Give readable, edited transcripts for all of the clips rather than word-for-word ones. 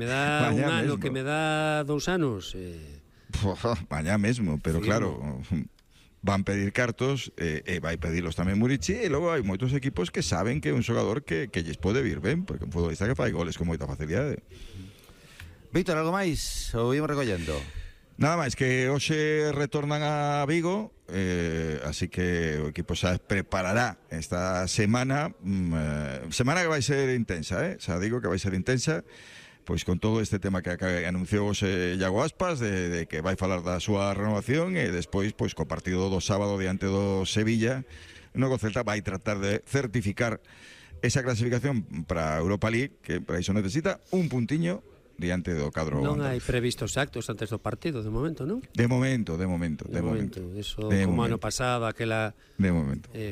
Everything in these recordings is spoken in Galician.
Me dá un ano, que me dá 2 anos. Mañá mesmo, pero claro, van pedir cartos e vai pedilos tamén Murici, e logo hai moitos equipos que saben que é un xogador que lles pode vir ben, porque un futbolista que fai goles con moita facilidade. Víctor, algo máis? O ímos recollendo? Nada máis, que hoxe retornan a Vigo, así que o equipo xa preparará esta semana, semana que vai ser intensa, xa digo que vai ser intensa, pois con todo este tema que anunciou hoxe Iago Aspas, de que vai falar da súa renovación, e despois, pois, co partido do sábado diante do Sevilla, no Celta vai tratar de certificar esa clasificación para Europa League, que para iso necesita un puntiño diante do cadro. Non hai previstos actos antes do partido, de momento, non? De momento. Eso, como ano pasado, aquela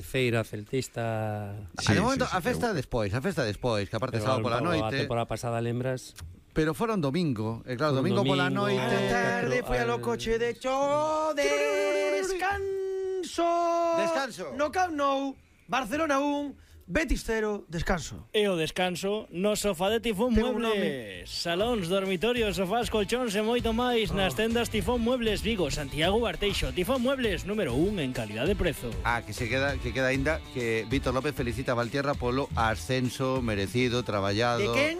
feira celtista. De momento, a festa despois, que aparte sábado pola noite. A temporada pasada, lembras? Pero foron domingo, e claro, domingo pola noite. A tarde foi ao coche de cho, descanso. No Camp Nou, Barcelona 1, Betis 0, descanso. E o descanso no sofá de Tifón Muebles. Salóns, dormitorios, sofás, colchóns e moito máis nas tendas Tifón Muebles Vigo, Santiago, Barteixo. Tifón Muebles, número 1 en calidad de prezo. Que queda ainda que Víctor López felicita a Valtierra polo ascenso merecido, traballado. De quen?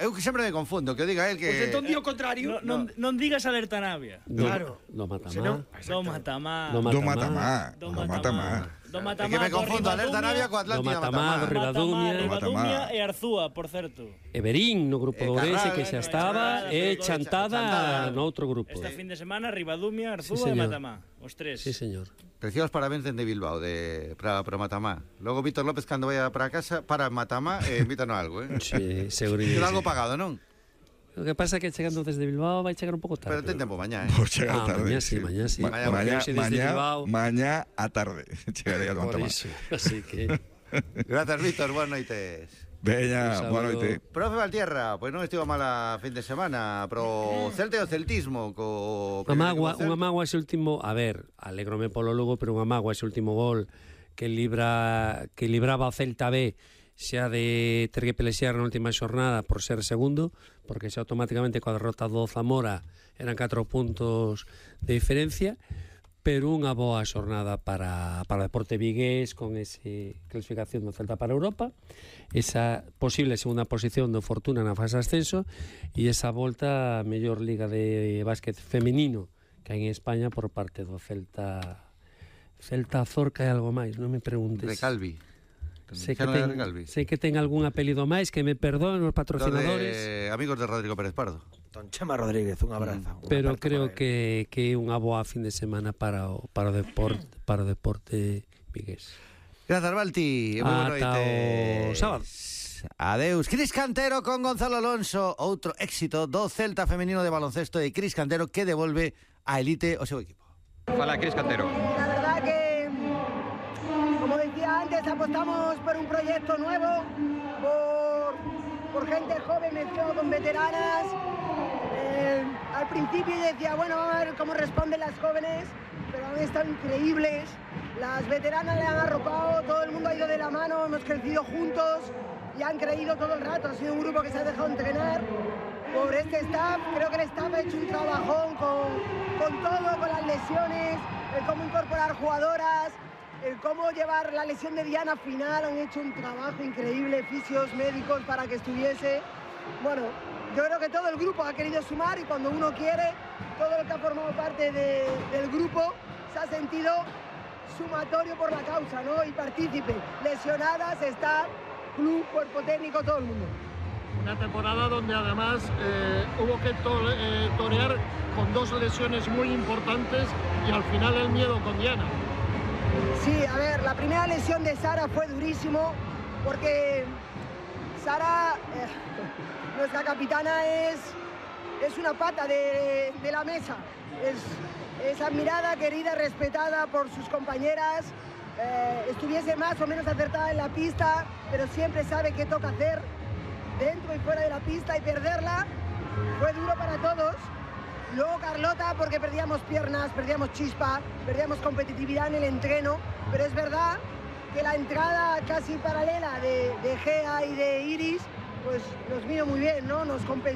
Eu que sempre me confundo, que diga él que... Pues entón di o contrario. Non digas Alerta Navia. Claro. Do Matamá. Que me confundo, Alerta Navia co Atlántida Matamá. Ribadumia e Arzúa, por certo. Everín no grupo do Ourense, que xa estaba, e Chantada no outro grupo. Esta fin de semana, Ribadumia, Arzúa e Matamá. Os tres. Sí, señor. Preciosos parabéns dende Bilbao para Matamá. Logo Víctor López, cando vaya para casa, para Matamá e invítanos algo, Sí, seguridade. Queda algo pagado, non? O que pasa é que chegando desde Bilbao vai chegar un pouco tarde. Pero ten tempo mañá, Por chegar tarde. Mañá sí. Mañá a tarde. Chegarei a Matamá. Así que... Grazas, Víctor, boas noites. Veña, boa noite. Profe Valtierra, pois non estivo mala fin de semana, pro Celta e o celtismo unha mágoa ese último, a ver, alégrome polo Lugo, pero unha mágoa ese último gol que libraba o Celta B xa de ter que pelexear na última xornada por ser segundo, porque xa automáticamente coa derrota do Zamora eran 4 puntos de diferencia, pero unha boa xornada para Deporte Vigués, con esa clasificación do Celta para Europa, esa posible segunda posición do Fortuna na fase ascenso, e esa volta a mellor liga de básquet femenino que hai en España por parte do Celta Zorca e algo máis, non me preguntes. Recalvi. Sei que ten algún apelido máis, que me perdoen os patrocinadores. Amigos de Rodrigo Pérez Pardo. Don Chema Rodríguez, un abrazo. Pero creo que é unha boa fin de semana para o deporte vigués. Grazas, Valti. Ata o sábado. Adeus. Cris Cantero con Gonzalo Alonso. Outro éxito do Celta femenino de baloncesto de Cris Cantero, que devolve a elite o seu equipo. Fala, Cris Cantero. La verdad que, como decía antes, apostamos por un proyecto nuevo, por gente joven mezclado con veteranas. Al principio yo decía, bueno, vamos a ver cómo responden las jóvenes, pero han estado increíbles. Las veteranas le han arropado, todo el mundo ha ido de la mano, hemos crecido juntos y han creído todo el rato. Ha sido un grupo que se ha dejado entrenar por este staff. Creo que el staff ha hecho un trabajón con todo, con las lesiones, el cómo incorporar jugadoras, el cómo llevar la lesión de Diana final. Han hecho un trabajo increíble, fisios, médicos, para que estuviese. Bueno, yo creo que todo el grupo ha querido sumar, y cuando uno quiere, todo el que ha formado parte del grupo se ha sentido sumatorio por la causa, ¿no? Y partícipe. Lesionadas, está club, cuerpo técnico, todo el mundo. Una temporada donde además hubo que torear con 2 lesiones muy importantes y al final el miedo con Diana. Sí, a ver, la primera lesión de Sara fue durísimo, porque Sara, nuestra capitana, es una pata de la mesa. Es admirada, querida, respetada por sus compañeras. Estuviese más o menos acertada en la pista, pero siempre sabe qué toca hacer dentro y fuera de la pista, y perderla fue duro para todos. Luego Carlota, porque perdíamos piernas, perdíamos chispa, perdíamos competitividad en el entreno, pero es verdad que la entrada casi paralela de Gea y de Iris, pues nos vino muy bien, ¿no? Nos compensó.